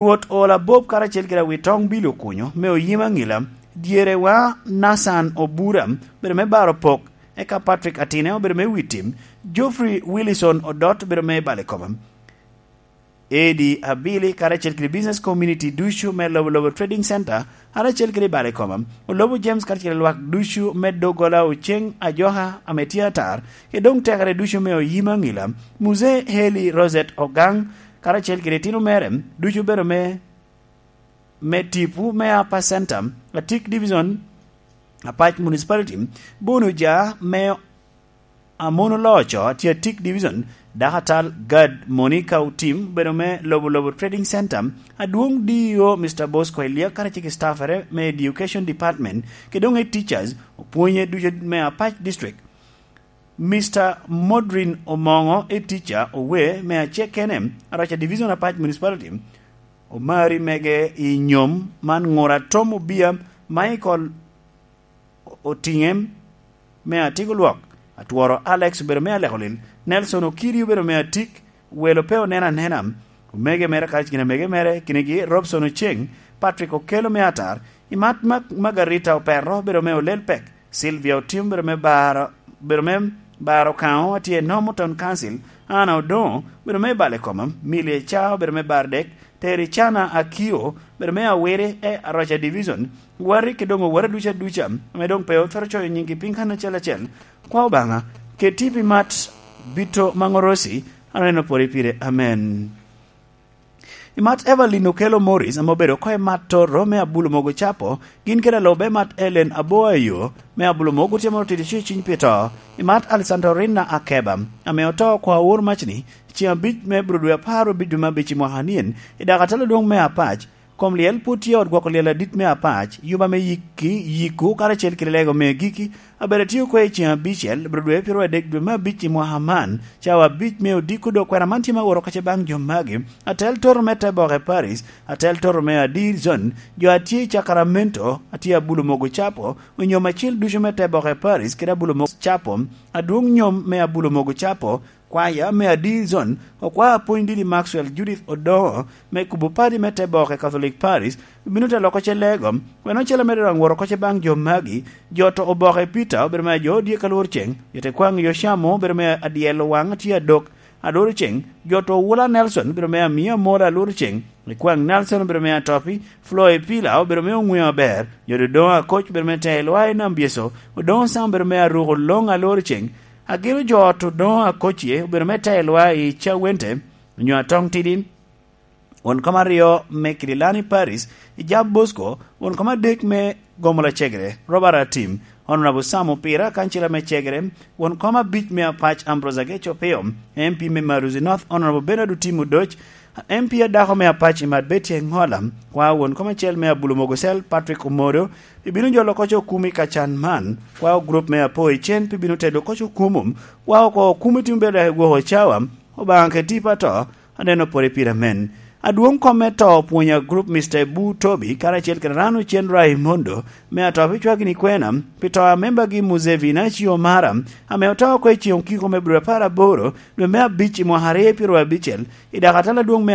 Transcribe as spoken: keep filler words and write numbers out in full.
Rwot Ola Bob karacel kede Awitoŋ Billy Okunyo me Oyima Ŋila, dyerewa Nathan Obura, bedo me Baro Pok, eka Patrick Atine obedo me Witim, Geoffrey Willison Odot obedo me Bale Koma. Edi Abili karacel kede business community ducu me Lobo Lobo Trading Center, karacel kede Bale Koma, Olobo James karacel kede lwak ducu me Dogola Oceng Ajoka ame tye atar, kede doŋ tekere ducu me Oyima Ŋila, Muzee Heli Rosette Ogang, karacel kede itino mere, ducu bedo me, me Tipu me Upper Center, Atik Division, Apac Municipality, Bono Ja me Amono Loco, atye Atik Division, Dakatal Gad Monica Otim, bedo me Lobo Lobo Trading Center, Adwoŋ D E O Mister Bosco Elia, karacel ki staffere me Education Department, kede doŋ e teachers, opwonye ducu me Apac District. Mister Modrin Omoŋo, e teacher owe me acekene, Araca Division, Apac Municipality, omari mege i nyom man, ŋura Tom Obia, Michael Otiŋe me Atiko Lwok, Atworo Alex obedo me Aleko Lil, Nelson Okiri obedo me Atik, welo pe oneno anena, omege mere kacel gin amege mere, kinigi Robson Oceng, Patrick Okello me Atar, Imat Mag-, Margarita Operro obedo me Olel Pek, Sylvia Otim obedo me Baro, obedo me Baro Kaŋo, atye i Northern Council, Anna Odoŋo obedo me Bale Koma, Milly Eca obedo me Bar Dek, Tericana Akio obedo me Awiri e Aroca Division, wari ki doŋ owara duca duca, ame doŋ pe otwero coyo nyingi piny kan acel acel, kwa Obaŋa, keti pi mat bito maŋ orosi, aneno pwod pire. Amen. I mat Evelyn Okello Morris, ame obedo oko i mat Toro me Abulo Mogo Capo, gin kede alubbe mat Ellen Aboayo me Abulo Mogo tye moro tidi ci ciny pi to. I mat Alessandro Rinna Akeba, ame oto oko awor macni, ceŋ abic me bro dwe apar abic dwe me abic i mwaka anyen, i dak atalo dwoŋ me Apac, kom lyel pwod tye ot gwoko lyel adit me Apac, yuba me yikki, yikku, karacel kede lego me giki, abedo atio kwe i ceŋ abicel, bro dwe piro adek dwe me abic i mwaka man, cawa abic me odiko dok kwena man tye ma woro kace baŋ jo magi, atel toto me te boke Paris, atel toto me Adir Zone, jo a tye i Sacramento, a tye Abulo Mogo Capo, onyo macil ducu me te boke Paris, kede Abulo Mogo Capo, adwoŋ nyom me Abulo Mogo Capo, kwaya me Adir Zone, okwa apwony didi Maxwell Judith Odoŋo, me kubo padi me te boke Catholic Paris, obino te loko ce lego, weno ocele me dwaŋ woro koce baŋ jo magi, jo to oboke Peter, obedo me jo odyek alwor ceŋ, jo te kwaŋ Yocamo, obedo me adyel owaŋ tye adok, alwor ceŋ, jo to Wula Nelson, obedo me amiya mola alwor ceŋ, i kwaŋ Nelson, obedo me atopi, Floy Pila, obedo me oŋweo aber, jo dodoŋo Akoc, obedo me te lwa i Nam Byeso, Odoŋo Sam, obedo me aruko loŋ alwor ceŋ, agilo jo to doŋo Akoc ye, obedo me te lwa i Cawente, onyo Atong Tidin, won kom aryo me Kidilani Paris, i Jab Bosco, won kom adek me Gomo Lacegere, Robert Atim, Honorable Sam Opira, kancila me Cegere, won kom abic me Apac Ambrose Ageco Opio, M P me Maruzi North, Honorable Bernard Otim Odoc, M P adako me Apac i Mat Betty Engola, kwa won kom acel me Abulo Mogocel, Patrick Omodo, pi bino jolo koc okumi ka can man, kwa gurup me Apo i Cen, pi bino tedo koc okumu, kwa oko okumi timo bedo dok i gwoko cawa, Obaŋa keti pa to, aneno pwod i pire amen. Adwoŋ kom me to opwonyo agurup Mister Ebu Tobi karacel kede Rano Cen Raimondo me ato pi cwagini kwena pi to a membagi Muzevi Nacio Mara, ame oto oko i ceŋ okiko me bro apar aboro dwe me abic i mwaka aryo pyero abicel, i dak atala adwoŋ me